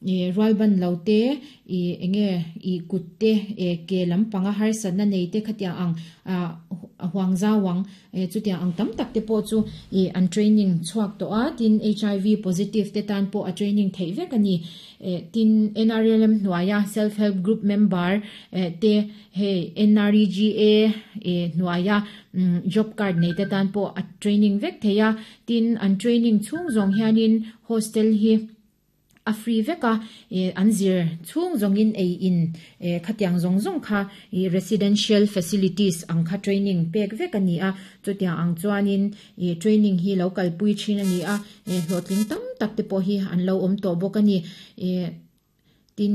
Rualban lo te, ih enge ih kut te, ke lampanga harsatna nei te khatiang ang ah huang zau ang chutiang ang tam tak te pawh chu ih an training chhuak tawh a, tin HIV positive te tan pawh a training theih vek a ni. Tin NRLM hnuaia self help group member te hei NREGA hnuaia job card nei te tan pawh a training vek thei a, tin an training chhung zawng hianin hostel hi a free vek a, an zir chhung zawngin ei in khatiang zawng zawng kha ih residential facilities ang kha training pek vek a ni a, chutiang ang chuanin ih training hi lo kalpui thin a ni a, hlawhtling tam tak te pawh hi an lo awm tawh bawk a ni. Tin,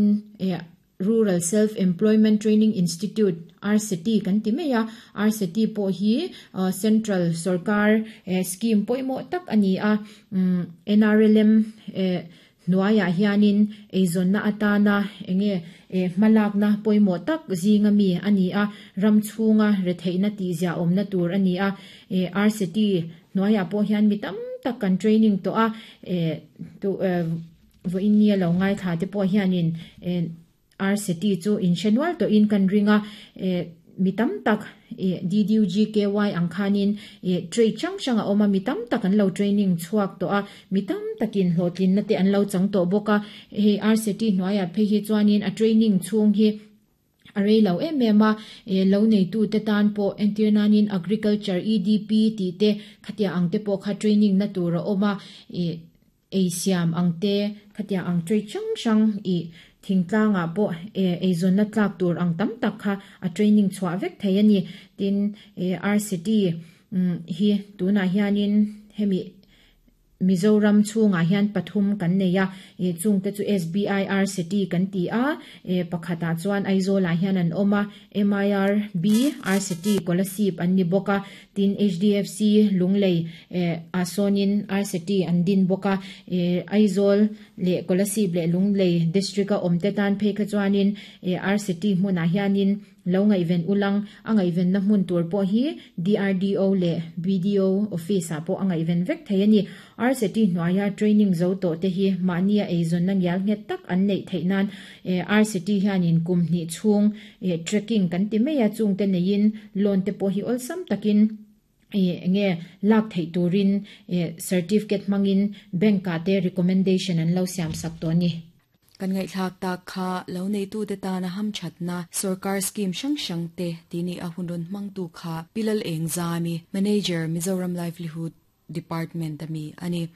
Rural Self Employment Training Institute, RSETI, kan ti mai a, RSETI pawh hi Central sorkar scheme pawimawh tak a ni a, NRLM hnuaiah hianin eizawnna atana enge hmalakna pawimawh tak zinga mi a ni a, ram chhunga retheihna tihziah awmna tur a ni a, RSETI hnuaiah pawh hian mi tam tak kan training tawh a. Vawiin nia lo ngaithla te pawh hianin RCT chu in hre nual tawhin kan ring a, mi tam tak DDUGKY ang khanin trade hrang hrang a awm a, mi tam tak an lo training chhuak tawh a, mi tam takin hlawhtlinna te an lo chang tawh bawk a, hei RCT hnuaiah phei hi chuanin a training chhung hi a rei lo em em a, lo neitute tan pawh entir nanin Agriculture EDP tih te khatiang ang te pawh kha training na tur a awm a. Ei siam ang te, khatiang ang trade hrang hrang ih thingtlangah pawh eizawnna tlak tur ang tam tak kha a training chhuah vek thei a ni. Tin, RCT hi tunah hianin hemi Mizoram chhungah hian pathum kan nei a, chungte chu SBI RCT kan ti a, pakhatah chuan Aizawlah hian an awm a, MIRB RCT Kolasib an ni bawk a, Tin, HDFC Lunglei ah sawnin RCT an din bawk a, Aizawl leh Kolasib leh Lunglei District a awmte tan phei kha chuanin RCT hmunah hianin lo ngaihven ulang a ngaihvenna hmun tur pawh hi DRDO leh BDO Office ah pawh a ngaihven vek thei a ni. RCT hnuaia training zo tawh te hi mahnia eizawnna ngial nghet tak an neih theih nan RCT hianin kum hnih chhung Trekking kan ti mai a, chungte neiin loan te pawh hi awlsam takin enge lak theih turin certificate hmangin bank ah te recommendation an lo siam sak tawh a ni. Kan ngaihthlak tak kha lo neitute tana hamthatna sorkar scheme hrang hrang te tih ni a hun rawn hmangtu kha Pi Lalengzami, Manager, Mizoram Livelihood Department a mi a ni.